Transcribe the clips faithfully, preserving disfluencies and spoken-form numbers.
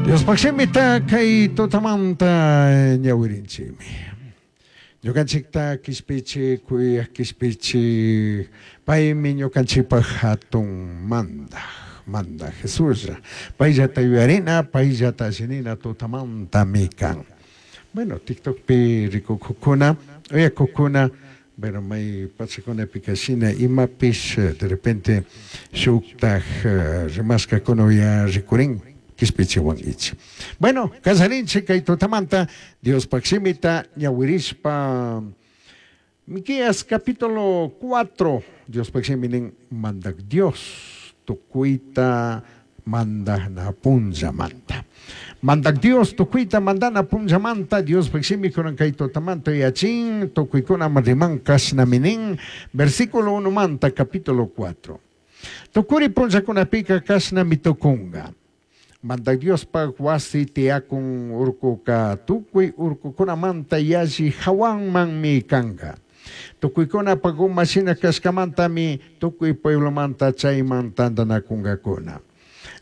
Diospaj shimita kay tutamanta ñawirinchikmi. Ñukanchikta kishpichi, kuyaj kishpichi, paymi ñukanchikpaj hatun mandaj, mandaj Jesuslla. Payllata yuyarina, payllata allinina tutamantami kan. Bueno, TikTokpi rikukukuna, uyakukuna, bueno, may pachakunapika shina imapish de repente shuktaj rimashkakuna uya rikurin kishpichiwankichik. Bueno, kallarinchik kay tutamanta Diospaj shimita ñawirishpa Miqueas capítulo cuatro, Diospaj shimi nin mandak Dios tukuyta mandana punllamanta. Mandak Dios tukuyta mandana punllamanta Diospaj shimi kunan kay tutamanta yachin tukuykunaman riman kashnami nin versículo uno manta capítulo cuatro. Tukuri punllakunapika kashnami tukunga. Mandak Diospaj wasi tiyakun urkuka tukuy urkukunamanta yalli hawanmanmi kanka. Tukuykunapaj uma shina kashkamantami tukuy pueblomanta chayman tantanakunkakuna.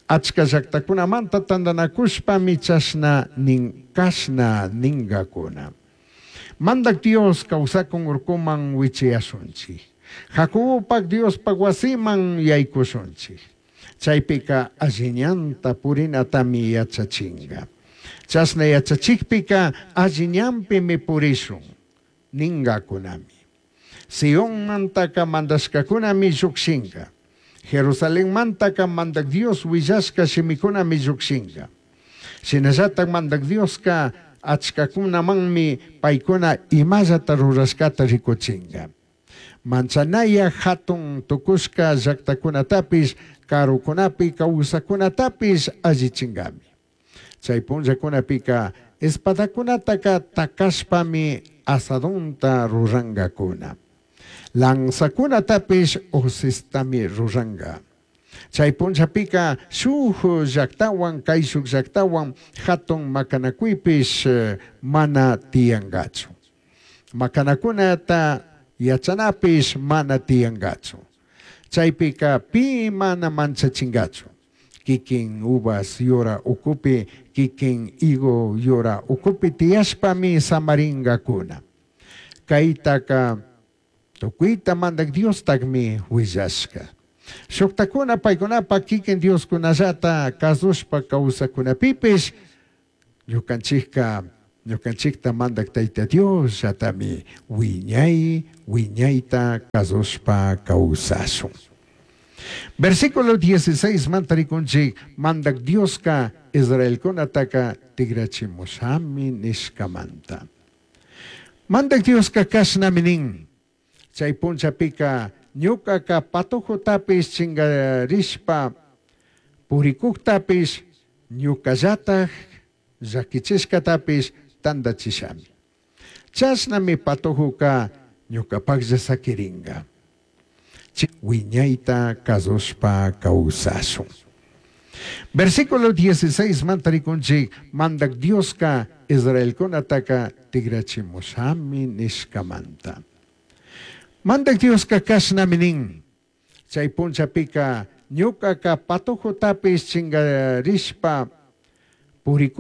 Achka llaktakunamanta tantanakushpami chashna nin kashna ninkakuna. Mandak Dios kawsakun urkuman wichiyashunchik. Jacobopaj Diospaj wasiman yaykushunchik. Chaypika alli ñanta purinatami yachachinga. Chashna yachachikpika alli ñanpimi purishun ninkakunami. Sionmantaka mandashkakunami llukshinka. Jerusalenmantaka mandak Dios willashka shimikunami llukshinka. Shinallatak mandak Dioska achkakunamanmi paykuna imallata rurashkata rikuchinka. Manchanaya hatun tukushka llaktakunatapish karukunapi kawsakunatapish allichinkami. Chay punllakunapika espadakunataka takashpami azadunta rurankakuna. Lanzakunatapish hocestami ruranka. Chay punllapika shuk llaktawan kayshuk llaktawan hatun makanakuypish mana tiyankachu. Makanakunata yachanapish mana tiyankachu. Chaypika pi mana manchachinkachu. Kikin uvas yura ukupi, kikin higo yura ukupi tiyashpami samarinkakuna. Kaytaka tukuyta mandak Diostakmi willashka. Shuktakuna paykunapa kikin Dioskunallata kasushpa kawsakunapipish ñukanchikka ñukanchikta mandak Tayta Diosllatami wiñay wiñayta kasushpa kawsashun. Versículo dieciséis manta rikunchik mandak Dioska Israelkunataka tigrachimushami nishkamanta. Mandak Dioska kashnami nin. Chay punllapika ñukaka patujotapish chinkarishpa purikuktapish ñukallataj llakichishkatapish tantachishami. Chashnami patujuka ñukapaklla sakirinka. Wiñayta kasushpa kawsashun. Versículo dieciséis manta rikunchik mandak Dioska Israelkunataka tigrachimushami nishkamanta. Mandak Dioska kashnami nin. Chay punllapika ñukaka patujotapish chinkarishpa purikuktapish